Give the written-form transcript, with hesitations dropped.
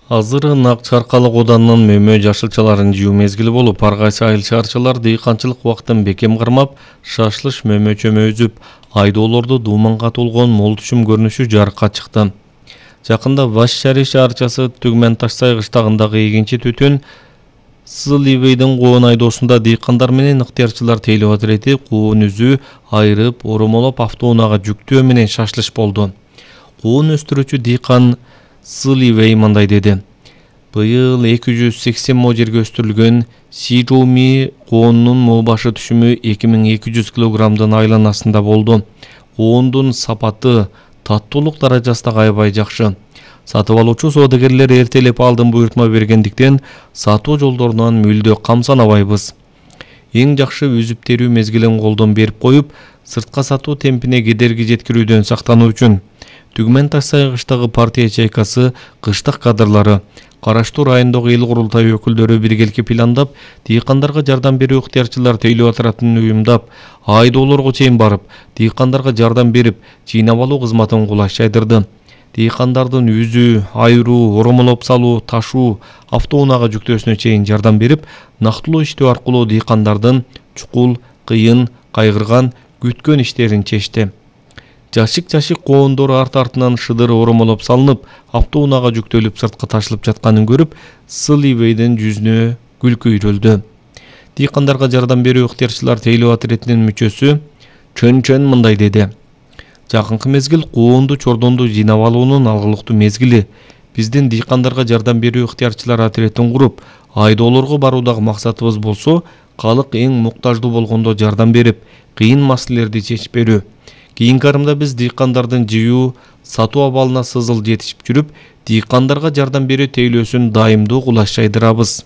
Азыр Нак Чаркалык Оданынын мөмө жашылчаларын жыйуу мезгили болуп, ар кайсы айыл шаарчылар дыйканчылык убактын бекем кармап, шашлыш мөмө чөмө үзүп, айдоолорду дууманга толгон мол түшүм көрүнүшү жарыкка чыкты. Жакында Вашшари шаарчасы Түгмен Ташсай кыштагындагы эгинчи түтүн Сыливейдин коон айдоосунда дыйкандар менен ыктыярчылар тейлөө отирети коон үзүү, айрып, оромолоп автоунаага жүктөө менен шашлыш болду. Коон өстүрүүчү дыйкан Сыливей мындай деди. Быйыл 280 мо жерге өстүрүлгөн Сижоуми коонунун мо башы түшүмү 2200 килограммдын айланасында болду. Коондун сапаты, таттуулук даражасы да аябай жакшы. Сатып алуучу соодагерлер эртелеп алдын буйртма бергендиктен сатуу жолдорунан мүлдө камсанабайбыз. Эң жакшы үзүп терүү мезгилин колдон берип коюп, сыртка сатуу темпине кедерги жеткирүүдөн сактануу үчүн Түгмен Ташсай кыштагы партия ячейкасы кыштык кадрлары караштуу райондогу эл курултайы өкүлдөрү биргеликке пландап, дыйкандарга жардам берүү ыктыярчылар тейлөө отуратын уюмдап, айдоолорго чейин барып, дыйкандарга жардам берип, жыйнап алуу кызматын кулаш жайдырды. Дыйкандардын үзүү, айыруу, оромолоп салуу, ташуу, автоунаага жүктөөсүнө чейин жардам берип, нактылуу иштөө аркылуу дыйкандардын чукул, кыйын, кайгырган, күткөн иштерин чечти. Жашык коондору арт-артынан шыдыр оромолоп салынып, автоунаага жүктөлүп сыртка ташылып жатканын көрүп, Сыливейдин жүзүнө күлкү үйрөлдү. Дыйкандарга жардам берүү ыктыярчылар тейлөө отиретинин мүчөсү Чөн мындай деди. Жакынкы мезгил коонду чордонду жыйнап алуунун алгылыктуу мезгили. Биздин дыйкандарга жардам берүү ыктыярчылар отиретин куруп, айдоолорго баруудагы максатыбыз болсо, калык эң муктаждуу болгондо жардам берип, кыйын маселелерди чечип берүү. Кийинки арымда биз дыйкандардын жыйуу, сатуу абалына сызыл жетишип жүрүп, дыйкандарга жардам берүү тейлөөсүн дайымдуу кулаш жайдырабыз.